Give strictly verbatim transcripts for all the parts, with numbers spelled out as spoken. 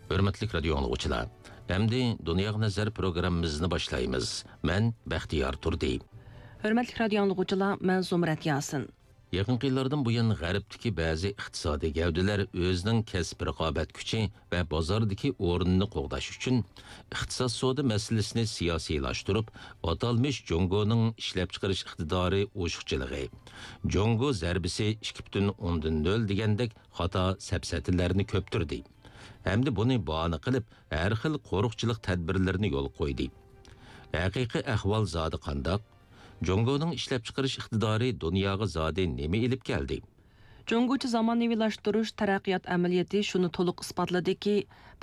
ھۆرمەتلىك رادىيو ئاڭلىغۇچىلار، ئەمدى دۇنياغا نەزەر پروگراممىمىزنى باشلايمىز. مەن بەختىيار تۇردى. ھۆرمەتلىك رادىيو ئاڭلىغۇچىلار، مەن زۇمرەت ياسىن. يېقىنقى يىللاردىن بۇيان، غەربتىكى بەزى ئىقتىسادىي گەۋدىلەر ئۆزىنىڭ كەسىپ رىقابەت كۈچى ۋە بازاردىكى ئورنىنى قوغداش ئۈچۈن، ئىقتىساد سودا مەسىلىسىنى سىياسىيلاشتۇرۇپ، ئاتالمىش جۇڭگونىڭ ئىشلەپچىقىرىش ئىقتىدارى ئوشۇقچىلىقى، جۇڭگو زەربىسى ئىككى پۈتۈن ئوندىن نۆل دېگەندەك خاتا سەپسەتىلەرنى كۆپتۈردى ھەمدە بۇنى باھانە قىلىپ، ھەر خىل قورۇقچىلىق تەدبىرلىرىنى يولغا قويدى. ھەقىقىي ئەھۋال زادى قانداق؟ جۇڭگونىڭ ئىشلەپچىقىرىش ئىقتىدارى دۇنياغا زادى نېمە ئېلىپ كەلدى؟ جۇڭگوچە زامانىۋىلاشتۇرۇش تەرەققىيات ئەمەلىيىتى شۇنى تولۇق ئىسپاتلىدىكى،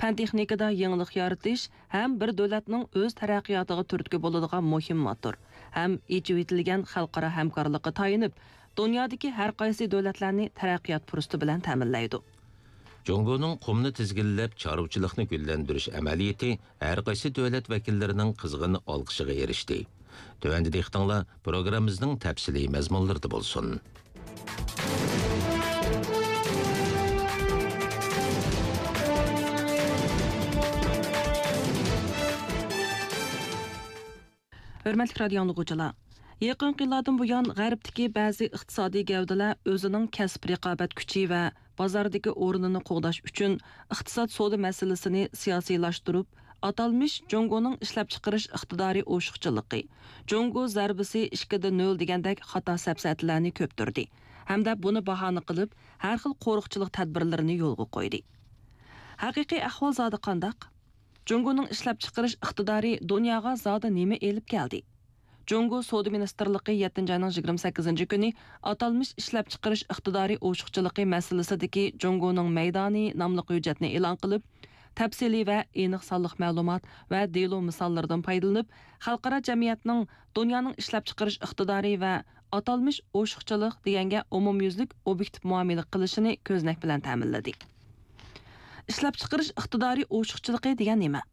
پەن-تېخنىكىدا يېڭىلىق يارىتىش ھەم بىر دۆلەتنىڭ ئۆز تەرەققىياتىغا تۈرتكە بولىدىغان مۇھىم موتور ھەم ئېچىۋېتىلگەن خەلقئارا ھەمكارلىققا تايىنىپ، دۇنيادىكى ھەر قايسى دۆلەتلەرنى تەرەققىيات پۇرسىتى بىلەن تەمىنلەيدۇ. جۇڭگونىڭ قۇمنى تىزگىنلەپ، چارۋىچىلىقنى گۈللەندۈرۈش ئەمەلىيىتى ھەر قايسى دۆلەت ۋەكىللىرىنىڭ قىزغىن ئالقىشىغا ئېرىشتى. تۆۋەندە دىققىتىڭلار پروگراممىمىزنىڭ تەپسىلىي مەزمۇنلىرىدا بولسۇن. ھۆرمەتلىك رادىيو ئاڭلىغۇچىلار! يېقىنقى يىللاردىن بۇيان، غەربتىكى بەزى ئىقتىسادىي گەۋدىلەر ئۆزىنىڭ كەسىپ رىقابەت كۈچى ۋە بازاردىكى ئورنىنى قوغداش ئۈچۈن، ئىقتىساد سودا مەسىلىسىنى سىياسىيلاشتۇرۇپ، ئاتالمىش جۇڭگونىڭ ئىشلەپچىقىرىش ئىقتىدارى ئوشۇقچىلىقى، جۇڭگو زەربىسى ئىككىدە نۆل دېگەندەك خاتا سەپسەتىلەرنى كۆپتۈردى ھەمدە بۇنى باھانە قىلىپ، ھەر خىل قورۇقچىلىق تەدبىرلىرىنى يولغا قويدى. ھەقىقىي ئەھۋال زادى قانداق؟ جۇڭگونىڭ ئىشلەپچىقىرىش ئىقتىدارى دۇنياغا زادى نېمە ئېلىپ كەلدى؟ جۇڭگو سودا مىنىستىرلىقى يەتتىنچى ئاينىڭ يىگىرمە سەككىزىنچى كۈنى ئاتالمىش ئىشلەپچىقىرىش ئىقتىدارى ئوشۇقچىلىقى مەسىلىسىدىكى جۇڭگونىڭ مەيدانى ناملىق ھۆججەتنى ئېلان قىلىپ، تەپسىلىي ۋە ئېنىق سانلىق مەلۇمات ۋە دېلو مىساللىرىدىن پايدىلىنىپ، خەلقئارا جەمئىيەتنىڭ دۇنيانىڭ ئىشلەپچىقىرىش ئىقتىدارى ۋە ئاتالمىش ئوشۇقچىلىق دېگەنگە ئومۇميۈزلۈك ئوبيېكتىپ مۇئامىلە قىلىشىنى كۆزنەك بىلەن تەمىنلىدى. ئىشلەپچىقىرىش ئىقتىدارى ئوشۇقچىلىقى دېگەن نېمە؟